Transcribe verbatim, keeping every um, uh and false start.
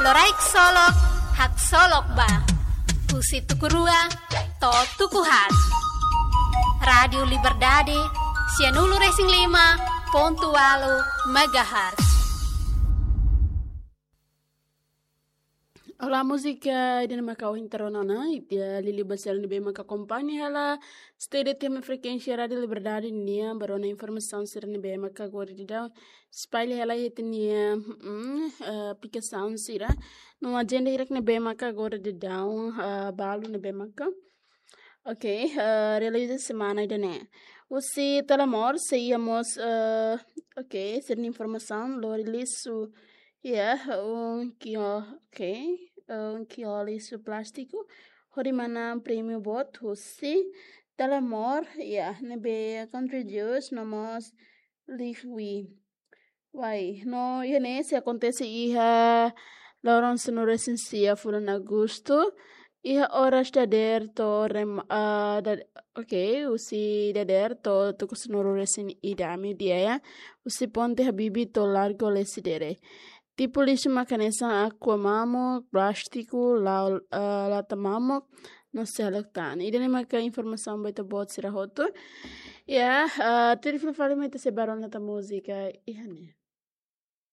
Rai ksolok, haksolok ba. Husi tuku rua to'o tuku haat. Rádiu Liberdade, sianulu-resin-lima pontu ualu megahertz. Olá, música ida-ne'e maka ohin terona na, ita liuliu ba sira ne'ebé maka akompaña hela Estéreo T M frekuénsia Rádiu Liberdade nian, ba rona informasaun sira ne'ebé maka agora daudaun espalla hela iha ita-nia, mm, eh, aplikasaun sira. No ajenda hirak ne'ebé maka agora daudaun, eh, balu ne'ebé maka. Ok, eh, realiza semana ida-ne'e. Husi Telemor sei iha mós, eh, ok, sira-nia informasaun, lori lixu, ya, um kio, ok, eh, um kio lixu plástiku hodi manán prémiu boot husi Telemor, ya, ne'ebé country juice no mós Liqui. Wai, no iha ne'e sei akontese iha loron sanulu-resin-sia fulan Agostu, iha oras dadeer to'o rem-, ah, dad-, ok, husi dadeer to'o tuku sanulu-resin-ida meiudia, ya. Husi Ponte Habibie to'o Largo Lecidere. Tipu lixu maka hanesan aqua mamuk, plástiku, la-, ah, lata mamuk, no seluk tan. Ida-ne'e maka informasaun ba ita-boot sira hotu. Ya, ah, tuir fali mai ita sei ba rona tan múzika iha ne'e.